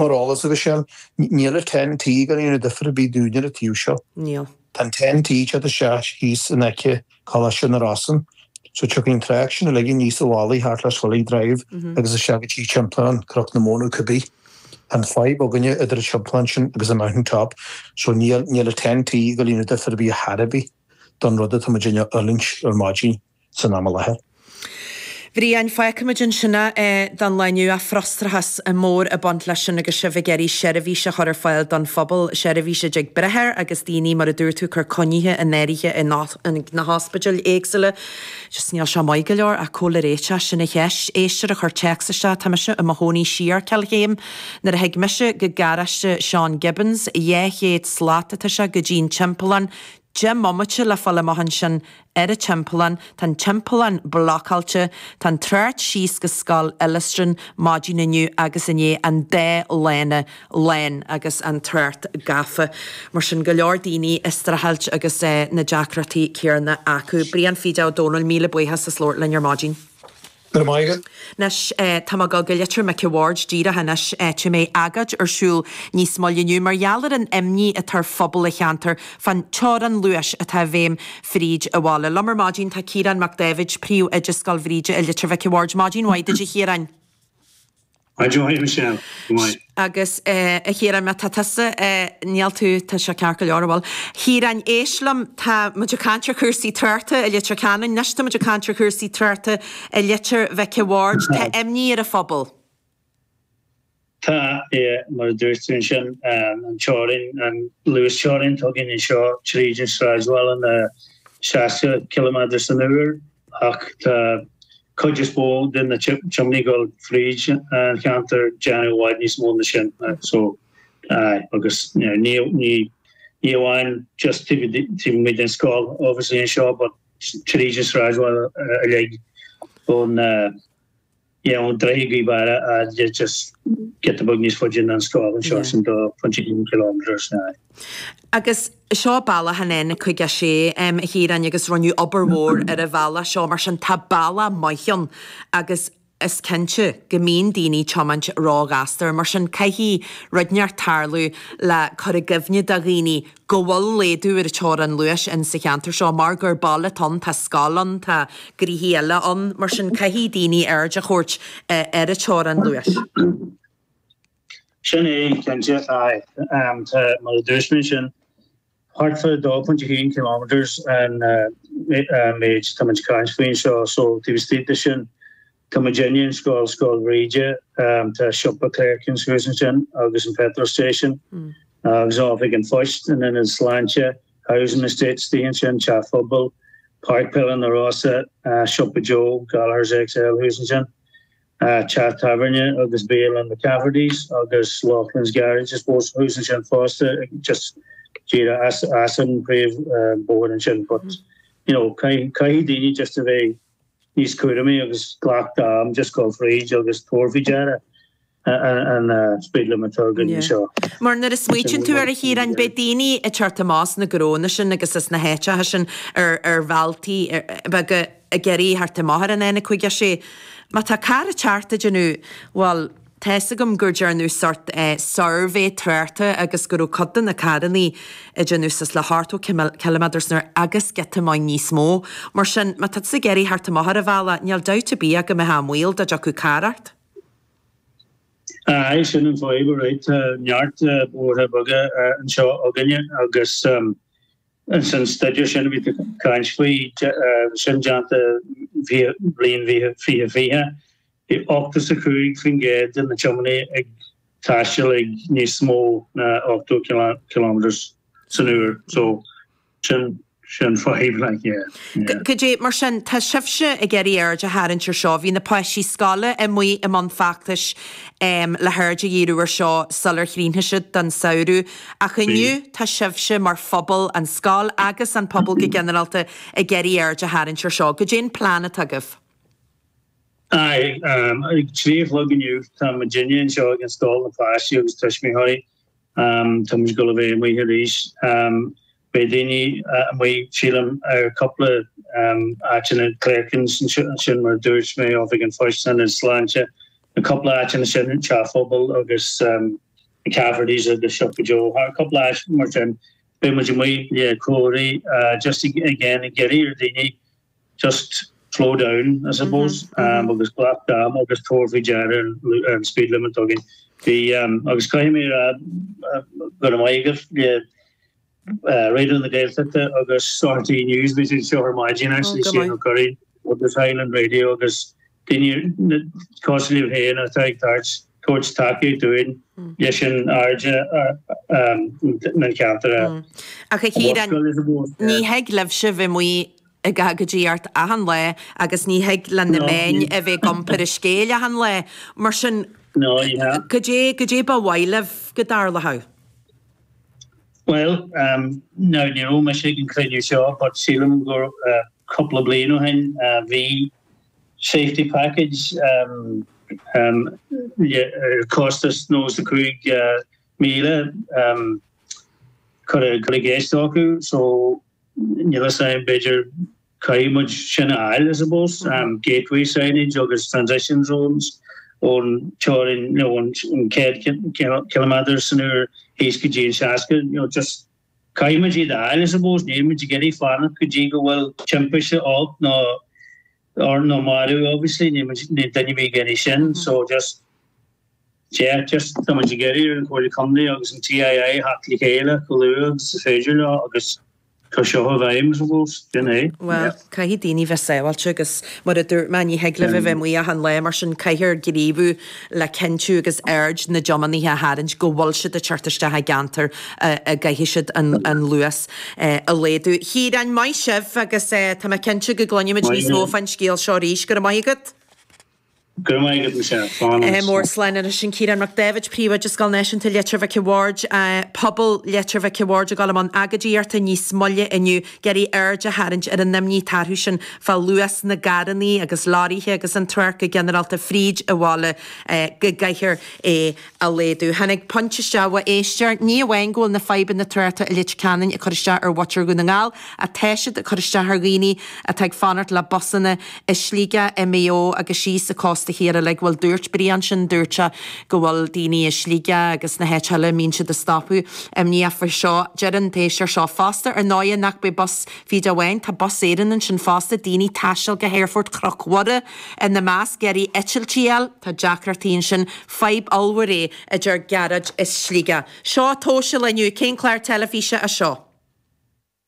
Mar eolas, a Mhichelle, níl an 10T ag déanamh difear ar bith dúinne ar an taobh seo. Níl. Tá an 10T ag teacht isteach thíos in aice Coláiste na Rosann, so tiocfaidh an trácht sin uilig aníos an mhullaigh thart le Swilly Drive agus isteach go dtí Timpeallán Cnoc na Móna cibé. Tá an fadhb againne idir an timpeallán sin agus an Mountain Top, so níl níl an 10T ag déanamh difear ar bith ar chor ar bith don rud atá muid ag fhulaingt ar maidin. san am i láthair. Bhriain, Fágfaimid ansin é don lá inniu ach frustrachas mór ag baint leis sin agus sibh ag iarraidh seirbhís a chur ar fáil don phobal, seirbhís a dtig breith air agus daoine, mar a dúirt tú, ag cur coinnithe in áirithe in na hospidéil éagsúla. Just níl sé maith go leor ach cá bhfuil an réiteach, sin an cheist. Éisteoir a chuir téacs isteach, tá mise i mo chónaí siar Cill Chéim. Nuair a thig mise go garáiste Seán Gibbons, 200 slat atá sé go dtí an timpeallán, 10 mbomaite le fáil amach ansin ar an timpeallán, tá an timpeallán blocáilte, tá an trácht síos go Scoil Illistrin maidin inniu agus inné, an dá lána lán agus an trácht gafa. Mar sin, go leor daoine ag streachailt agus na deacrachtaí céarna acu. Brian Phíde Ó Domhnaill, míle buíochas as labhairt linn ar maidin. Go raibh maith agat. Anois, tá mé ag dul go Leitir Mhic a' Bhaird díreach anois, áit a mbeidh agóid ar siúl níos moille inniu mar gheall ar an imní atá ar phobal an cheantair fán teorainn luais atá i bhfeidhm fríd an bhaile. Liom ar maidin tá Ciarán Mac Dáibhid, Príomhoide Scoil Bhríde i Leitir Mhic a' Bhaird. Maidin mhaith duit a Chiaráin. Maidin mhaith, Michelle. Go maith. Agus a Chiaráin, má tá tusa, níl tú, tá sé ceart go leor, bhuel. Chiaráin, éist liom, tá muid ag caint ar chúrsaí tráchta i Leitir Ceanainn, anois tá muid ag caint ar chúrsaí tráchta i Leitir Mhic a' Bhaird. Tá imní ar an phobal. Tá, yeah, mar a dúirt tú ansin, an teorainn, an luasteorainn atá againn anseo tríd an sráidbhaile ná 60 ciliméadar san uair ach tá cuid is mó de na tiománaithe ag dul fríd an cheantar ag déanamh i bhfad níos mó na sin. So, aye, agus ní ní ní amháin just taobh amuigh den scoil obviously anseo but tríd an sráidbhaile uilig ón yeah ón droichead Gaoth Beara a just giota beag níos faide ná an scoil anseo sin 2.1 kilometres aye. Agus seo bealach an N56, a Chiaráin, agus rinneadh obair mhór ar an bhealach seo, mar sin tá bealach maith ann agus is cinnte go mbíonn daoine ag tiomáint róghasta air, mar sin caithfidh rud inteacht tarlú le cur i gcuimhne do dhaoine go bhfuil laghdú ar an teorainn luais in sa cheantar seo mar gur baile atá ann, tá scoil ann, tá gnoithí eile ann, mar sin caithfidh daoine aird a thabhairt ar an teorainn luais. Sin é, cinnte, aye. Tá, mar a dúirt mé ansin, thart fá 2.1 kilometres an méid tá muid ag caint faoi anseo, so taobh istigh de sin, tá muidinne, an scoil, Scoil Bhríde, tá siopa Clerkins thuas ansin agus an petrol station agus oifig an phoist, an ionad sláinte, housing estate istigh ansin, teach phobail, Páirc Peile na Rosa, siopa Joe, Gallagher's XL thuas ansin. Teach tábhairne agus bialann McCafferty's agus Loughlin's Garage I suppose thuas ansin fosta just díreach as as an príomh bóthar ansin but you know caithfidh caithfidh daoine just a bheith níos cúramaí agus glac d'am just dul fríd agus tabhair faoi deara an speed limit atá againn anseo. Mar nuair a smaoitíonn tú air a Chiaráin beidh daoine ag teacht amach as na gnónna sin agus as na háiteacha sin ar ar bhealtaí beaga ag iarraidh theacht amach ar an N56. Má tá carr ag teacht ag déanamh, bhuel, tá fhios agam gur dearnadh sort suirbhé tráchta agus go raibh cuid de na carrannaí ag déanamh suas le 80 ciliméadar san uair agus giota maith níos mó. Mar sin, má tá tusa ag iarraidh theacht amach ar an bhealach, níl dabht ar bith ach go mbeifeá i mbaol dá dtiocfadh carr ort. Aye, sin an fadhb, alright. Tá neart bóithre beaga anseo againne agus An staidéar sin a bhí tú ag caint faoi, sin déanta bliain 2020, bhí 85% de na tiománaithe ag taisteal ag níos mó ná 80 kilometres san uair. So sin sin fadhb like yeah. Yeah. Cad é, mar sin, tá sibhse ag iarraidh aird a tharraingt ar seo. Bhí na páistí scoile amuigh i mbun feachtais le haird a dhíriú ar seo sular chríochnaigh siad don samhradh. Ach inniu tá sibhse mar phobal, an scoil agus an pobal go ginearálta, ag iarraidh aird a tharraingt ar seo. Goidé an plean atá agaibh? Aye, ag 3 a chlog inniu tá muidinne anseo ag an scoil, na páistí agus tuismitheoirí. Tá muid ag dul a bheith amuigh arís. Beidh daoine amuigh, sílim, ar cúpla áiteanna, Clerkins ansin mar a dúirt mé, Oifig an Phoist, Ionad Sláinte, na cúpla áiteanna sin, Teach Phobail agus. McCafferty's agus Siopa Joe, thar cúpla áit mar sin, beidh muid amuigh le comharthaí just again ag iarraidh ar daoine just slow down I suppose agus glac d'am agus tabhair faoi deara an speed limit againn. Bhí agus caithfidh mé a rá go raibh maith agaibh le Raidió na Gaeltachta agus RTÉ News bhí siad anseo ar maidin actually Shane Ó Curraoin agus Highland Radio agus daoine cosúil libh féin atá ag tabhairt tabhairt tacaíocht dúinn leis an aird na ceantar a Ach a Chiaráin, ní thig libhse bheith amuigh ag agóidíocht achan lá agus ní thig le na meáin a bheith ag iompar an scéil achan lá. Mar sin, cad é, cad é ba mhaith libh go dtarlódh? Bhuel, now ní raibh mise ag an cruinniú seo but sílim gur cúpla bliain ó shin bhí safety package ar costas 95,000 curtha i gceist acu so níl a fhios agam b'fhéidir caithfidh muid sin a fháil I suppose, gateway signage agus transition zones ón teorainn nó ón 100 ciliméadar san uair thíos go dtí an 60, you know just caithfidh muid iad a fháil I suppose, níl muid ag iarraidh fanacht go dtí go bhfuil timpiste olc nó nó marú obviously, níl muid níl duine ar bith ag iarraidh sin so just yeah just tá muid ag iarraidh ar an Chomhairle Contae agus an TII theacht le chéile chomh luath agus is féidir leo agus cur seo i bhfeidhm I suppose, sin é. Bhuel, caithfidh daoine bheith sábháilte agus mar a dúirt mé ní thig libh a bheith amuigh achan lá mar sin caithfear gníomhú le cinntiú agus aird na dtiománaithe a tharraingt go bhfuil siad ag teacht isteach i gceantar a gcaithfidh siad an luas a laghdú. A Chiaráin, maith sibh agus tá mé cinnte go gcluinfimid níos mó fán scéal seo arís. Go raibh maith agat. Go raibh maith agat, Michelle. Slán anois. Mór slán anois. Sin Ciarán Mac Dáibhid, Príomhoide Scoil Náisiúnta Leitir Mhic a' Bhaird, pobal Leitir Mhic a' Bhaird ag dul i mbun agóidíochta níos moille inniu, ag iarraidh aird a tharraingt ar an imní atá orthu sin fá luas na gcarrannaí agus leoraithe agus an trácht go ginearálta fríd an bhaile go gcaithfear é a laghdú. Tháinig pointe isteach ó éisteoir, ní amháin go bhfuil na fadhbanna tráchta i Leitir Ceanainn ag cur isteach ar mhuintir Dhún na nGall, ach tá siad ag cur isteach ar dhaoine atá ag fanacht le busanna i Sligeach, i Maigh Eo agus síos an cósta thiar uilig. Bhuel, dúirt Brian sin, dúirt sé go bhfuil daoine i Sligeach agus na háit eile, mbíonn siad ag stopadh imníoch faoi seo. Deir an t-éisteoir seo fosta, ar ndóighe, nach b'é bus fíde amháin, tá Bus Éireann ansin fosta, daoine ag taisteal go hAerfort Chnoc Mhuire ina measc, ag iarraidh eitiltí a fháil, tá deacrachtaí ansin, fadhb ollmhór é, a deir Gearóid i Sligeach. Seo tomhas an lae inniu, cén clár teilifíse é seo?